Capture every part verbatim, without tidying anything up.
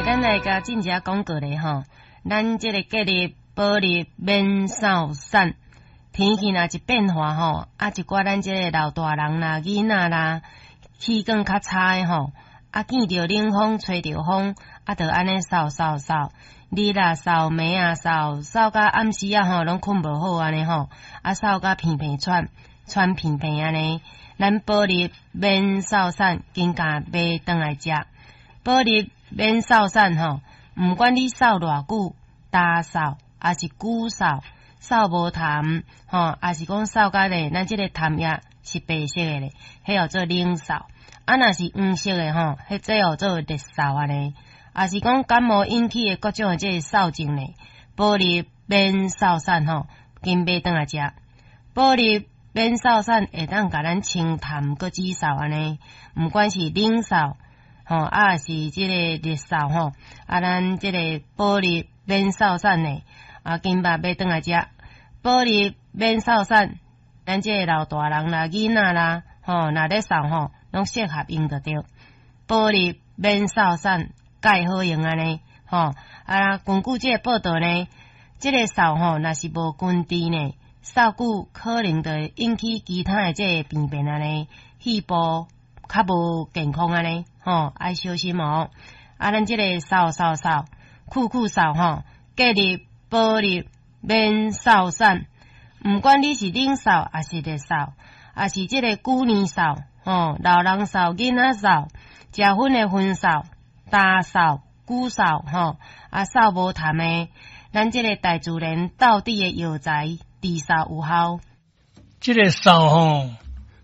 咱來共進一下廣告咧吼。咱這個隔日保入免掃散，天氣若一變化吼，啊一寡咱這個老大人啦、囡仔啦，氣管較差的吼，啊見著冷風、吹著風，啊就按呢嗽嗽嗽，日啊嗽，暝啊嗽，嗽甲暗時仔吼攏睏無好按呢吼，啊嗽甲鼻鼻喘，喘鼻鼻按呢，咱保入免嗽散，緊共買轉來食。保入免嗽散吼，毋管你嗽偌久，焦嗽，抑是久嗽，嗽無痰，吼，抑是講嗽甲咧，咱這個痰液是白色的咧，彼叫做冷嗽。啊，若是黃色的吼，彼這叫做熱嗽按呢。抑是講感冒引起的各種的這個嗽症咧，保入免嗽散吼，緊買轉來食。保入免嗽散會當共咱清痰閣止嗽按呢，毋管是冷嗽。吼，啊是這個熱嗽吼，啊，咱這個保入免嗽散呢，啊，緊把買轉來食。保入免嗽散，咱這個老大人啦、囡仔啦，吼，若咧嗽吼，攏適合用就對。保入免嗽散，蓋好用按呢，吼，啊，根據這個報道呢，這個嗽吼，若是無根治呢，嗽久可能就會引起其他的這個病變按呢，肺部較無健康按呢。吼，愛小心哦！啊，咱這個嗽嗽嗽，久久嗽吼，隔日保入免嗽散，毋管你是冷嗽，抑是熱嗽，抑是這個久年嗽，吼，老人嗽、囡仔嗽，食薰的薰嗽、焦嗽、久嗽，吼，啊嗽無痰的，咱這個大自然道地的藥材治嗽有效。這個嗽吼，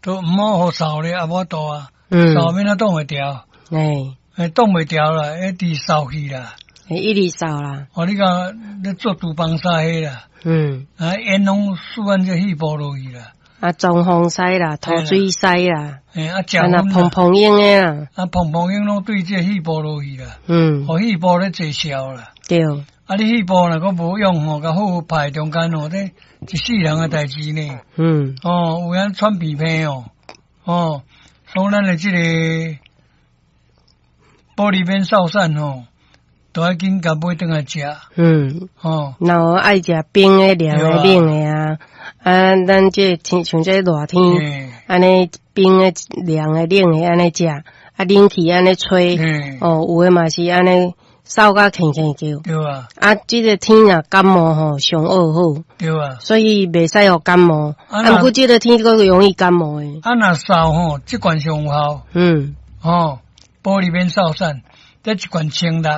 都毋好予嗽咧，也無法度啊，嗽欲按怎擋會牢？欸，欸，擋袂牢啦，一直嗽去啦，欸，一直嗽啦。哦，你講咧做廚房啥彼啦，嗯，啊，煙攏輸按這肺部落去啦。啊，裝風師啦，塗水師啦，欸，啊，啊，若蓬蓬蠅的啦，啊，蓬蓬蠅攏對這肺部落去啦，嗯，予肺部咧濟痟啦，對。啊，你肺部若閣無用吼，共好好排中間吼，這一世人的代誌呢。嗯，哦，有影喘鼻鼻哦，哦，所以咱的這個保利免嗽散吼，都愛緊共買轉來食。嗯，哦，若有愛食冰的、涼的、冷的啊，啊，咱這天像這熱天，按呢冰的、涼的、冷的按呢食，啊，冷氣按呢吹，哦，有的嘛是按呢嗽甲吭吭叫。對啊。啊，這個天若感冒吼，上惡好。對啊。所以袂使予感冒。啊，毋過這個天閣容易感冒的。啊，若嗽吼，這罐上有效。嗯。哦，保利免嗽散，這一罐千六，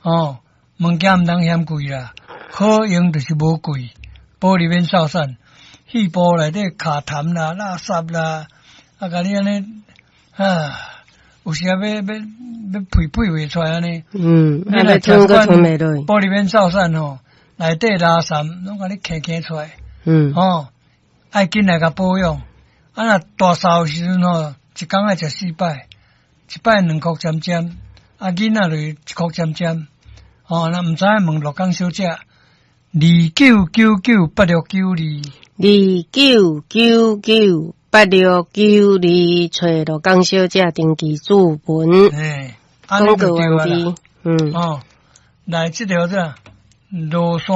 哦，物件毋通嫌貴啦，好用就是無貴。保利免嗽散，肺部內底卡痰啦、垃圾啦，啊，共你按呢，啊，有時啊欲欲欲屁屁袂出來按呢。嗯，你若吞閣吞袂落。保利免嗽散吼，內底垃圾攏共你揢揢出來。嗯。哦，愛緊來共保養。啊，若大嗽的時陣吼，一工愛食四擺。一擺兩箍針針，啊，囡仔就一箍針針，哦，若毋知影問陸江小姐，二九九九八六九二，二九九九八六九二，揣陸江小姐登記注文。嘿，廣告完畢。嗯，哦，來這條這羅山。